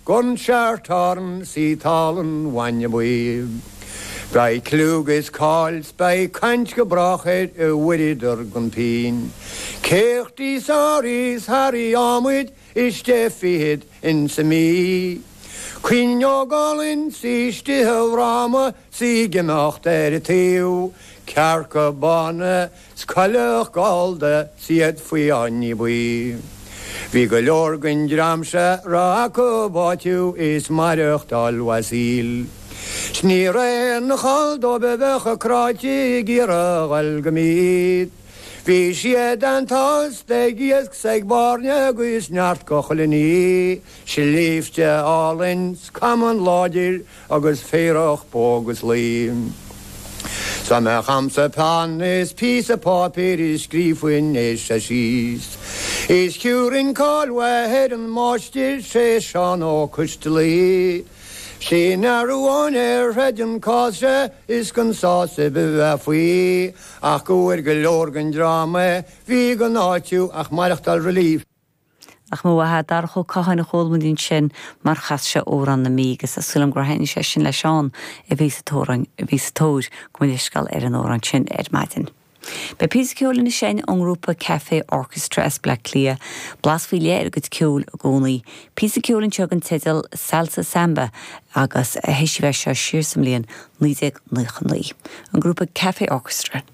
Gon seartán 's í talann bhainne buí. Beidh cliú 'gus cáil 's beidh caint go brách air i bhfuaireadar gon phínn. Céachtaí 's áraí 's harraí adhmaid is deich fichead insa Mí. Cuinneog álainn 's í istigh i bhfráma 's í ag imeacht ar a taobh. Cearca bána 's coileach gallda 's iad faoi fháinní buí. Bhí go leor den dream seo raibh acu áitiú is maireachtáil mhaith saoil. 'S ní raibh aon chall dóibh a bheadh cráite ag iarraidh a dhul go Meath. Bhí siad an-tsásta ag iasc 's ag bairnigh agus neart go chuile ní, sléibhte álainn 's camán láidir agus féarach bó agus lao. 'S dá mbeadh a'msa peann is píosa páipéir is scríobhfainn é seo síos. Is thiúrfainn cáil mhaith ar an máistir sé Seán Ó Coistealaí. Sin fhear amháin ar throid an cás seo is gan sásamh a bheith faoi ach go bhfuair go leor den dream a bhí gan áitiú ach maireachtáil relief. Nach mba mhaith é Darach Ó Catháin a chuala muid ansin mar chas sé Amhrán na Mí agus tá súil agam gur thaitnigh sé sin le Seán a bhí sa tóir, a bhí sa tóir, gabh mo leithscéal, ar an amhrán sin ar maidin. Beidh píosa ceoil anois againn ón ngrúpa Café Orchestra as Bleá Cliath, blas faoi leith ar a gcuid ceoil i gcónaí. Píosa ceoil anseo den teideal Salsa Samba agus thoisigh sé seo siar sa mbliain 1999. An grúpa Café Orchestra.